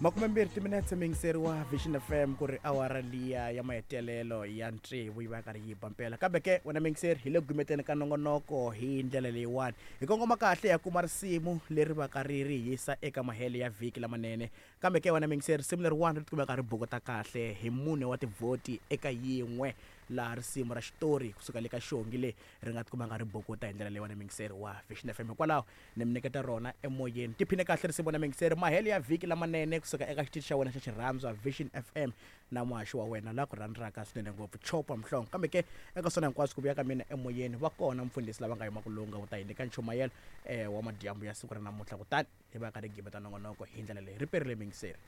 Makumembirhi timinetse miyingiseri wa Vision FM ku ri awara liya ya mahetelelo ya tsevu yi va yi karhi yi ba mpela. Kambe ke wena miyingiseri hi le ku gimeteni ka nongonoko hi ndlela leyiwani. Hi kongoma kahle ya kuma risimu leri va ka ri ri yisa eka mahelo ya vhiki lamanene. Kambe ke wena miyingiseri risimu leriwani ri tikumeka ri bukuta kahle hi mune wa tivhoti eka yin'we laha risimu ra xitori kusuka le ka Xongi le ri nga tikumanga ri bukuta hi ndlela leyiwani miyingiseri wa Vision FM. Hikwalaho ni mi nyiketa rona emoyeni. Tiphine kahle risimu na miyingiseri. Mahelo ya vhiki lamanene kusuka eka xitichi xa wena xa xirhandzwa Vision FM na muhaxi wa wena la ku rhandzaka swinene ngopfu Chopa Mhlongo. Kambe ke eka swona hinkwaswo ku vuya ka mina emoyeni va kona mfundhisi lava nga yima ku lunga ku ta hi nyika nchumayelo eh, wa madyambu ya siku ra namuntlha kutani hi va karhi gimeta nongonoko hi ndlela leyi. Ri perile miyingiseri.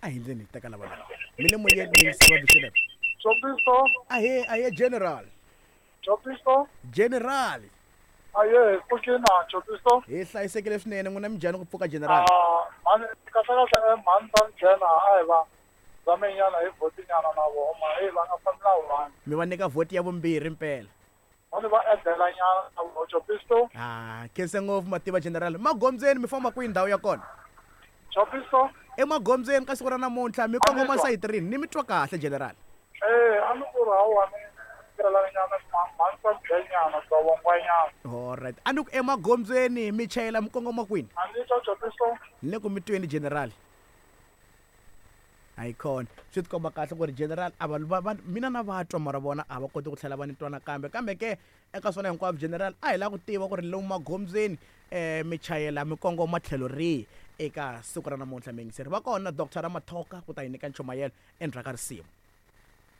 A hi ndleni hi teka lava lava. Mi le moyeni miyingiseri wa Vision FM. Chopiso. Ahee, ahee General. Chopiso. General. Aye, pfukina Chopiso. Hi hlayisekile swinene n'wina minjhani ku pfuka General? Ah, mhani kahle kahle eh, mhani ta nghena a hi va zame nyana hi vhoti nyana na voho ma hey va nga fambi na one. Mi va nyika vhoti ya vumbirhi mpela. Mhani va edela nyana na voho Chopiso. Ah, khense ngopfu mativa General. Magondzweni mi famba kwihi ndhawu ya kona? Chopiso. Emagondzweni ka siku ra namuntlha mi kongoma sayiti rini? Ni mi twa kahle General. Eh, a ni ku ri hawa ni nyana mhani ta nyana bya vongwanyana. Alright. A ni ku emagondzweni mi chayela mi kongoma kwini? A ni twa Chopiso. Ni le ku mi tweni General. Hayikhona. Swi tikomba kahle ku ri General a va va mina na va twa mara vona a va koti ku tlhela va ni twa nakambe. Kambe ke eka swona hinkwaswo General a hi lava ku tiva ku ri lomu magondzweni um mi chayela mi kongoma tlhelo rihi eka siku ra namuntlha miyingiseri. Va kona Doctor Ramathoka ku ta hi nyika nchumayelo endzhaku ka risimu.